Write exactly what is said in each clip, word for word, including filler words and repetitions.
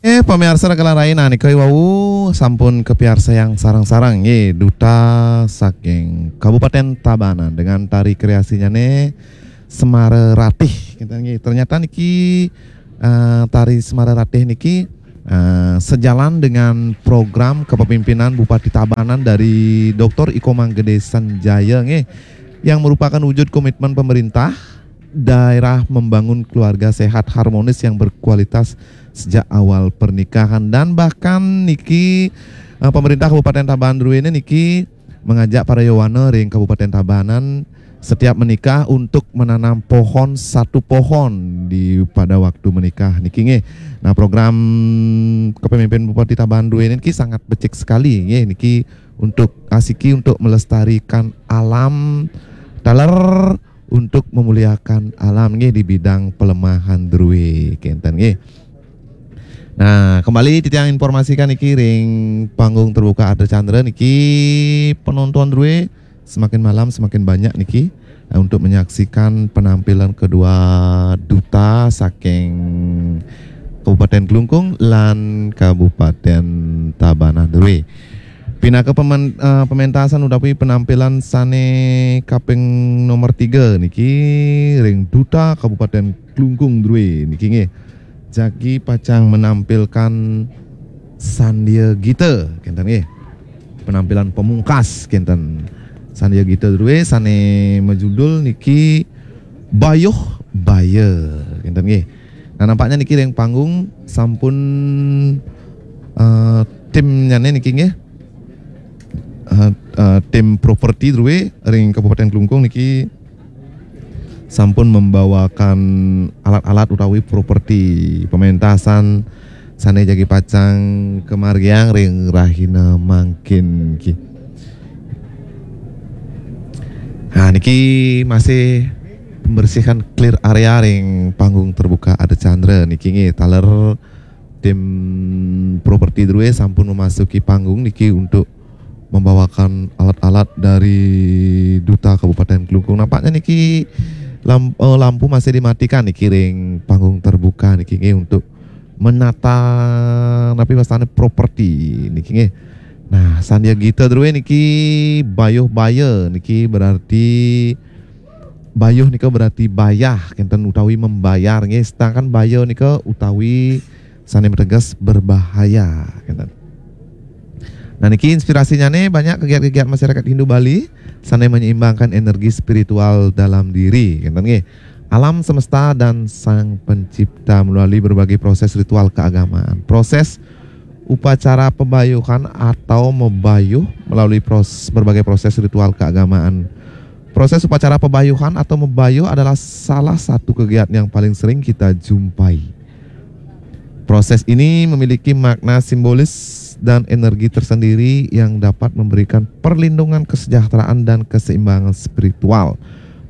Eh, pamiarsa ragalan rai, nah, nika wau sampun kapiarsayang sareng-sareng, nggih, duta saking Kabupaten Tabanan dengan tari kreasinya nih Semara Ratih, gitu, nggih. Ternyata niki, eh, tari Semara Ratih niki, eh, sejalan dengan program kepemimpinan Bupati Tabanan dari Doktor Iko Manggede Sanjaya, nggih, yang merupakan wujud komitmen pemerintah daerah membangun keluarga sehat harmonis yang berkualitas sejak awal pernikahan. Dan bahkan niki, eh, pemerintah Kabupaten Tabanan druene niki mengajak para yowana ring Kabupaten Tabanan setiap menikah untuk menanam pohon satu pohon di pada waktu menikah niki, nggih. Nah, program kepemimpinan Bupati Tabanan druene niki sangat becik sekali, nggih, niki untuk asiki untuk melestarikan alam taler untuk memuliakan alam, nggih, di bidang pelemahan drue kenten, nggih. Nah, kembali titiang informasikan niki ring panggung terbuka Ardha Candra niki penonton drue semakin malam semakin banyak niki, eh, untuk menyaksikan penampilan kedua duta saking Kabupaten Klungkung lan Kabupaten Tabanan drue. Pinaka pemen-, eh, pementasan utawi penampilan sane kaping nomor tiga niki ring duta Kabupaten Klungkung drue niki, nggih. Jagi pacang menampilkan Sandia Gita, kenten, nggih. Penampilan pemungkas, kenten. Sandia Gita drue sane majudul niki Bayuh Baya, kenten, nggih. Nah, nampaknya niki ring panggung sampun, eh, timnyane niki, nggih. Eh, eh, tim properti drue ring Kabupaten Klungkung niki sampun membawakan alat-alat utawi properti pementasan sane jagi pacang kamargiang ring rahina mangkin niki. Nah, niki masih pembersihan clear area ring panggung terbuka Ardha Candra niki, nggih, taler tim properti drue sampun memasuki panggung niki untuk membawakan alat-alat dari Duta Kabupaten Klungkung. Nampaknya niki lam-, eh, lampu masih dimatikan niki ring panggung terbuka niki, nggih, untuk menata napi wastane properti niki, nggih. Nah, Sandia Gita drue niki Bayuh Baya niki berarti bayuh nika berarti bayah kenten utawi membayar, nggih, sedangkan baya nika utawi sane mateges berbahaya kenten. Nah, niki inspirasinyane banyak kegiat-kegiat masyarakat Hindu Bali sane menyeimbangkan energi spiritual dalam diri kenten, nggih. Alam semesta dan Sang Pencipta melalui berbagai proses ritual keagamaan. Proses upacara pebayuhan atau mebayuh melalui pros-, berbagai proses ritual keagamaan. Proses upacara pebayuhan atau mebayuh adalah salah satu kegiatan yang paling sering kita jumpai. Proses ini memiliki makna simbolis dan energi tersendiri yang dapat memberikan perlindungan, kesejahteraan, dan keseimbangan spiritual.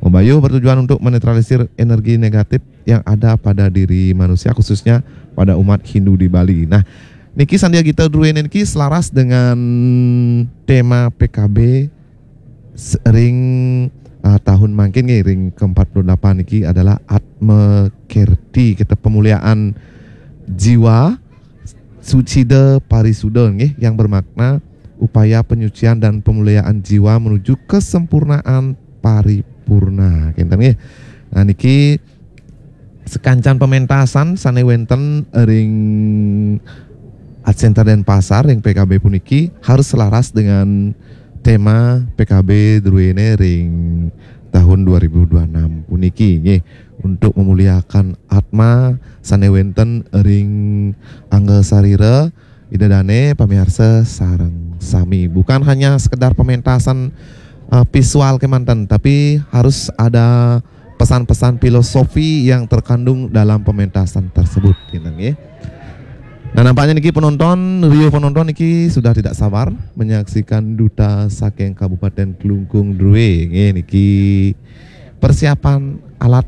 Mebayuh bertujuan untuk menetralisir energi negatif yang ada pada diri manusia, khususnya pada umat Hindu di Bali. Nah, niki Sandia Gita druene niki selaras dengan tema P K B s-, ring, ah, tahun mangkin nggih, ring ke empat puluh delapan niki adalah Atma Kerti, kita pemuliaan jiwa sucida parisuda nggih, yang bermakna upaya penyucian dan pemuliaan jiwa menuju kesempurnaan paripurna. Kenten nggih. Nah, niki sekancan pementasan sane wenten ring Art Center Denpasar ring P K B puniki harus selaras dengan tema P K B druene ring tahun dua ribu dua enam puniki, nggih, untuk memuliakan atma sane wenten ring angga sarira Ida dane pamiarsa sareng sami. Bukan hanya sekedar pementasan, eh, visual kemanten, tapi harus ada pesan-pesan filosofi yang terkandung dalam pementasan tersebut, gitu, nggih. Nah, nampaknya niki penonton, riuh penonton niki sudah tidak sabar menyaksikan duta saking Kabupaten Klungkung Drue, nggih, niki persiapan alat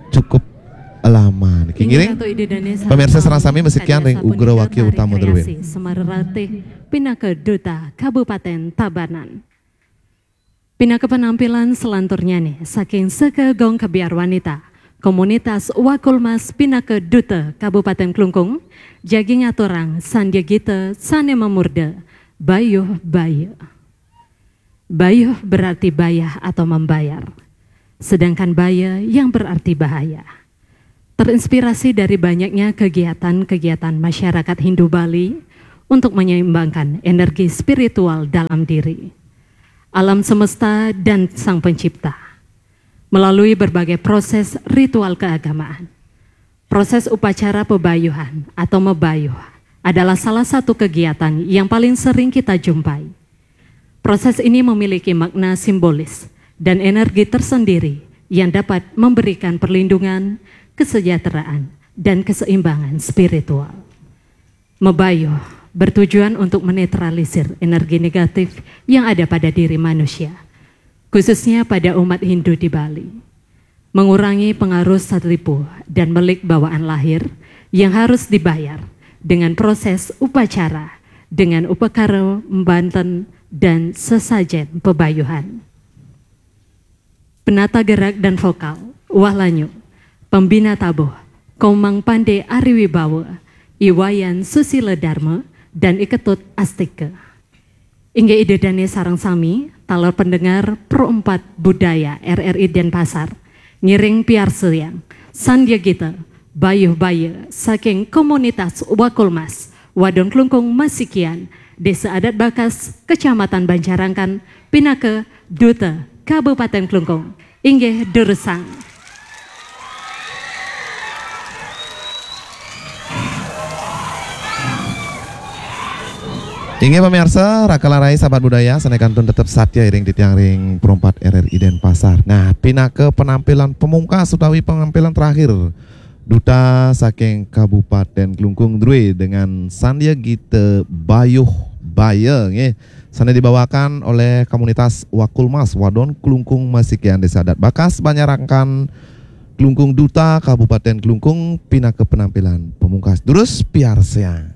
cukup lama niki. Inggih ngiring. Ratu Ida Dane sareng pemirsa sareng sami, masikian ring Ugra Wakil Utama Drue. Semara Ratih pinaka duta Kabupaten Tabanan. Pinaka penampilan selanturnya nih, saking Seka Gong Kebiar Wanita, Komunitas Wakulmas pinaka Duta Kabupaten Klungkung, jagi ngaturang sandya gita sane mamurda Bayuh Baya. Bayuh berarti bayah atau membayar, sedangkan baya yang berarti bahaya. Terinspirasi dari banyaknya kegiatan-kegiatan masyarakat Hindu Bali untuk menyeimbangkan energi spiritual dalam diri, alam semesta, dan Sang Pencipta. Melalui berbagai proses ritual keagamaan, proses upacara pebayuhan atau mebayuh adalah salah satu kegiatan yang paling sering kita jumpai. Proses ini memiliki makna simbolis dan energi tersendiri yang dapat memberikan perlindungan, kesejahteraan, dan keseimbangan spiritual. Mebayuh bertujuan untuk menetralisir energi negatif yang ada pada diri manusia, khususnya pada umat Hindu di Bali. Mengurangi pengaruh salipuh dan melik bawaan lahir yang harus dibayar dengan proses upacara, dengan upakara mbanten dan sesajen pebayuhan. Penata gerak dan vokal, Wah Lanyu, pembina tabuh, Komang Pande Ari Wibawa, I Wayan Susila Dharma, dan I Ketut Astika. Inggih Ida dane sareng sami, taler pendengar Pro empat Budaya R R I Denpasar, ngiring piarsayang sandya gita Bayuh Baya saking komunitas Wakulmas, Wadon Klungkung Masikian, Desa Adat Bakas, Kecamatan Banjarangkan, pinaka Duta Kabupaten Klungkung. Inggih durusang. Inggih pamirsa, raka lan rai sahabat budaya, sane kantun tetep satya iring titiang ring Pro empat R R I Denpasar. Nah, pinaka penampilan pemungkas utawi penampilan terakhir Duta saking Kabupaten Klungkung drue dengan sandya gita Bayuh Baya, nggih. Sane dibawakan oleh komunitas Wakulmas Wadon Klungkung Masikian Desa Adat Bakas Banjarangkan Klungkung, Duta Kabupaten Klungkung, pinaka penampilan pemungkas. Durus piarsayang.